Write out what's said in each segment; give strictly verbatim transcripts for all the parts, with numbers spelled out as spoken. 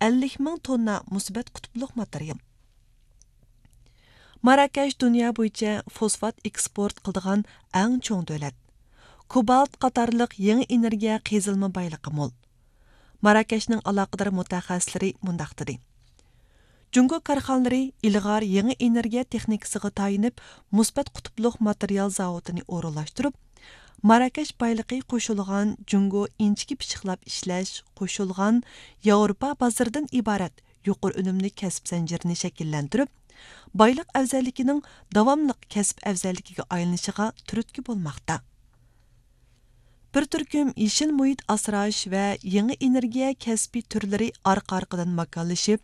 ئەللىك مىڭ توننا مۇسبەت قۇتۇپلۇق ماتېرىيال. ماراكەش دۇنيا بويىچە فوسفات ئېكسپورت قىلىدىغان ئەڭ چوڭ دۆلەت. كوبالت قاتارلىق يېڭى ئېنېرگىيە قېزىلما بايلىقى مول. ماراكەشنىڭ ئالاقىدار مۇتەخەسسىسلىرى مۇنداق دېدى: جۇڭگو كارخانىلىرى ئىلغار يېڭى ئېنېرگىيە تېخنىكىسىغا تايىنىپ، مۇسبەت قۇتۇپلۇق ماتېرىيال زاۋۇتىنى ئورۇنلاشتۇرۇپ، ماراكەش بايلىقى قوشۇلغان جۇڭگو ئىنچىكە پىششىقلاپ ئىشلەش قوشۇلغان ياۋروپا بازىرىدىن ئىبارەت يۇقىرى ئۈنۈملۈك كەسىپ زەنجىرىنى شەكىللەندۈرۈپ، بايلىق ئەۋزەللىكىنىڭ داۋاملىق كەسىپ ئەۋزەللىكىگە ئايلىنىشىغا تۈرتكە بولماقتا. بىر تۈركۈم يېشىل مۇھىت ئاسراش ۋە يېڭى ئېنېرگىيە كەسپىي تۈرلىرى ئارقا-ئارقىدىن ماكانلىشىپ،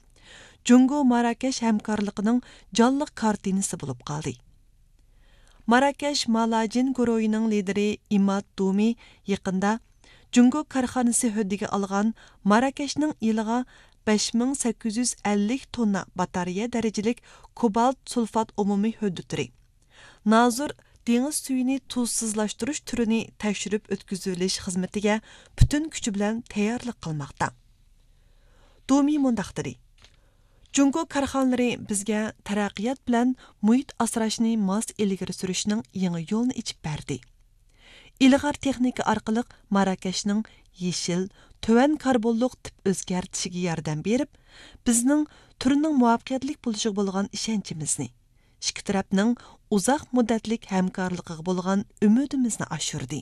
جۇڭگو ماراكەش ھەمكارلىقىنىڭ جانلىق كارتىنىسى بولۇپ قالدى. ماراكەش مالاجىن گۇرۇھىنىڭ لىدىرى ئىماد دۇمى يېقىندا جۇڭگو كارخانىسى ھۆددىگە ئالغان ماراكەشنىڭ يىلىغا بەش مىڭ سەككىز يۈز ئەللىك توننا باتارېيە دەرىجىلىك كوبالت سۇلفات ئومۇمىي ھۆددە تۈرى، نازۇر دېڭىز سۈيىنى تۇزسىزلاشتۇرۇش تۈرىنى تەكشۈرۈپ ئۆتكۈزۈۋېلىش خىزمىتىگە پۈتۈن كۈچى بىلەن تەييارلىق قىلماقتا. دۇمى مۇنداق دېدى: جۇڭگو كارخانىلىرى بىزگە تەرەققىيات بىلەن مۇھىت ئاسراشنى ماس ئىلگىرى سۈرۈشنىڭ يېڭى يولىنى ئېچىپ بەردى. ئىلغار تېخنىكا ئارقىلىق ماراكەشنىڭ يېشىل، تۆۋەن كاربونلۇق تىپ ئۆزگەرتىشىگە ياردەم بېرىپ، بىزنىڭ تۈرنىڭ مۇۋەپپەقىيەتلىك بولۇشىغا بولغان ئىشەنچىمىزنى، ئىككى تەرەپنىڭ ئۇزاق مۇددەتلىك ھەمكارلىقىغا بولغان ئۈمىدىمىزنى ئاشۇردى.